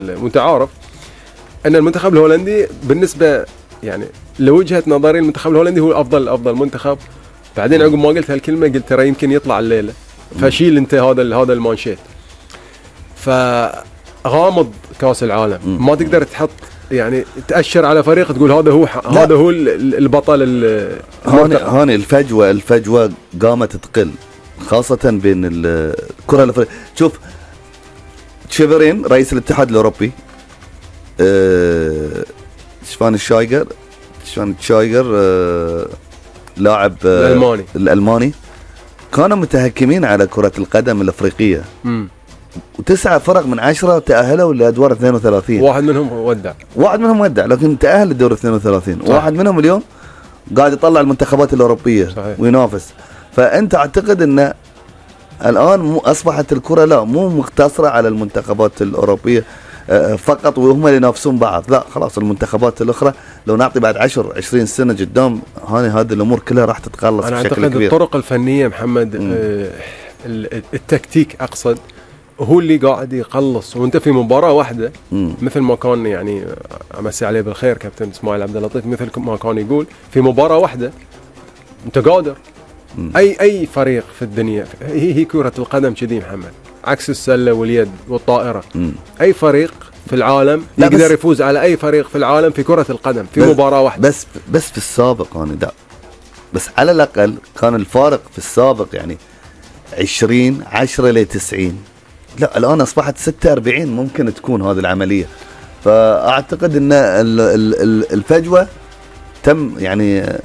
وانت عارف ان المنتخب الهولندي بالنسبه يعني لوجهه نظري المنتخب الهولندي هو افضل منتخب. بعدين عقب ما قلت هالكلمه قلت ترى يمكن يطلع الليله، فشيل انت هذا المانشيت. فغامض كاس العالم ما تقدر تحط يعني تأشر على فريق تقول هذا هو البطل. هاني الفجوة قامت تقل خاصة بين الكرة الأفريقية. شوف تشيفرين رئيس الاتحاد الأوروبي، شفان تشايجر لاعب الألماني كانوا متهكمين على كرة القدم الأفريقية. و9 فرق من 10 تأهلوا لأدوار 32. واحد منهم ودع لكن تأهل للدور 32. واحد منهم اليوم قاعد يطلع المنتخبات الأوروبية صحيح. وينافس. فأنت أعتقد أن الآن أصبحت الكرة لا مو مقتصرة على المنتخبات الأوروبية فقط وهم اللي ينافسون بعض، لا خلاص المنتخبات الأخرى لو نعطي بعد 10-20 سنة قدام هذه الأمور كلها راح تتقلص بشكل كبير. أنا أعتقد الطرق الفنية محمد التكتيك أقصد هو اللي قاعد يقلص. وانت في مباراة واحدة مثل ما كان يعني أمسي عليه بالخير كابتن إسماعيل عبد اللطيف، مثل ما كان يقول في مباراة واحدة انت قادر اي فريق في الدنيا. هي كرة القدم كذي محمد، عكس السلة واليد والطائرة. اي فريق في العالم يقدر يفوز على اي فريق في العالم في كرة القدم في مباراة واحدة. بس في السابق انا ده بس على الاقل كان الفارق في السابق يعني 10-90. لا الان اصبحت 46 ممكن تكون هذه العملية. فاعتقد ان الفجوة تم يعني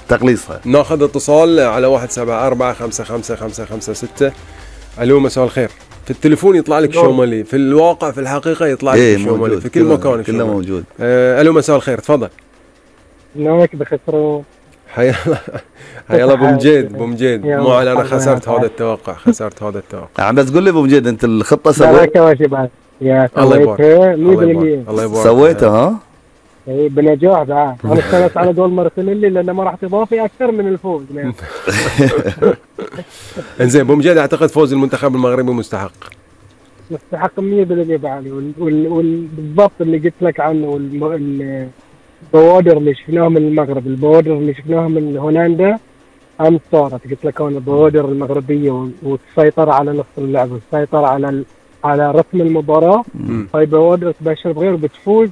تقليصها. ناخذ اتصال على 174-55-556. الو مساء الخير. في التليفون يطلع لك شومالي، في الواقع في الحقيقة يطلع لك شومالي في كل مكان كله موجود. الو مساء الخير تفضل. نومك بخسروا. حيا الله ابو مجيد مو انا خسرت هذا التوقع. عم بس قول لي ابو مجيد انت الخطة سويتها؟ يا الله يبارك سويتها ها؟ اي بنجاح بعد. انا اشتغلت على جول مارتينيلي لانه ما راح تضافي اكثر من الفوز. انزين ابو مجيد اعتقد فوز المنتخب المغربي مستحق 100% بعلي. بالضبط اللي قلت لك عنه البوادر اللي شفناها من المغرب، البوادر اللي شفناها من هولندا امس صارت. قلت لك انا البوادر المغربيه والسيطره على نص اللعب والسيطره على رسم المباراه. هاي بوادر تبشر بغير بتفوز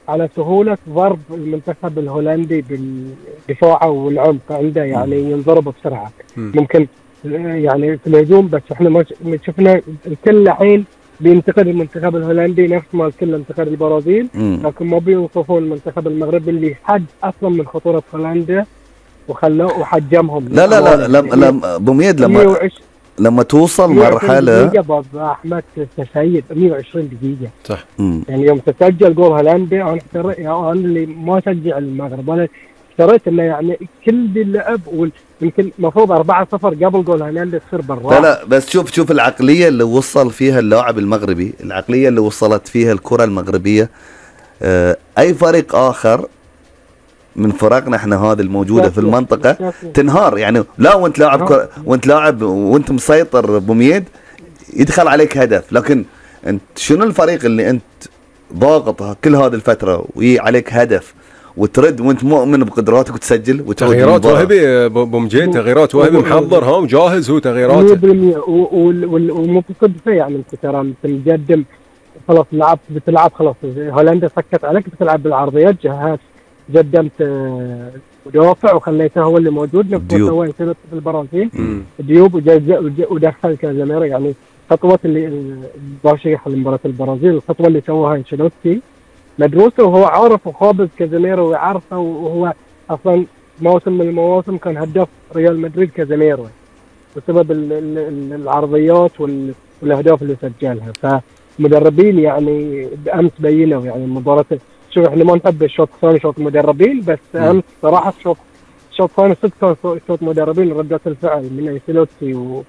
على سهولة ضرب المنتخب الهولندي بالدفاع والعمق عنده، يعني ينضرب بسرعة. ممكن يعني في الهجوم بس احنا ما شفنا الكل الحين بينتقد المنتخب الهولندي نفس ما الكل انتقد البرازيل، لكن ما بيوصفون المنتخب المغربي اللي حد اصلا من خطورة هولندا وخلوه وحجمهم. لا بميد لما توصل مرحلة دقيقة أحمد سعيد 120 دقيقة صح. يعني يوم تسجل جول هولندا أنا اللي ما أشجع المغرب أنا اشتريت إنه يعني كل اللعب ويمكن مفروض 4-0 قبل جول هولندا تصير بالراحة. لا بس شوف العقلية اللي وصل فيها اللاعب المغربي، العقلية اللي وصلت فيها الكرة المغربية. أي فريق آخر من فرقنا احنا هذه الموجودة في المنطقة تنهار يعني. لا وانت لاعب وانت مسيطر بميد يدخل عليك هدف، لكن انت شنو الفريق اللي انت ضاغط كل هذه الفترة وعليك هدف وترد وانت مؤمن بقدراتك وتسجل تغييرات وهبي بمجيد، تغييرات وهبي محضر ها وجاهز هو تغييراته 100% ومتصدق فيه. يعني انت ترى انت مقدم خلاص بتلعب خلاص هولندا سكت عليك بتلعب بالعرضيات، جهات قدمت مدافع وخليته هو اللي موجود نفس ما سوى في البرازيل ديوب ودخل كازيميرو. يعني خطوة اللي باشيخ لمباراة البرازيل الخطوة اللي سواها انشيلوتي مدروسة وهو عارف وخابز كازيميرو ويعرفه، وهو أصلا موسم من المواسم كان هداف ريال مدريد كازيميرو بسبب العرضيات والأهداف اللي سجلها. فمدربين يعني بأمس بينوا يعني مباراة. شوف احنا ما نحب الشوط الثاني شوط مدربين، بس امس صراحه الشوط الثاني صدق شوط مدربين. ردة الفعل من انشيلوتي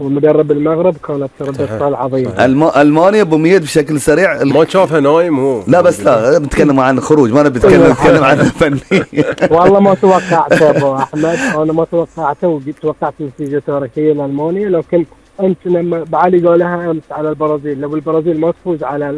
ومدرب المغرب كانت ردة فعل عظيمه. المانيا بميد بشكل سريع ما تشوفها نايم هو. لا بس لا بتكلم عن الخروج، ما نتكلم عن الفني. والله ما توقعته ابو احمد، انا ما توقعته وتوقعت نتيجه تاريخيه لالمانيا، لكن انت لما بعلي قالها امس على البرازيل، لو البرازيل ما تفوز على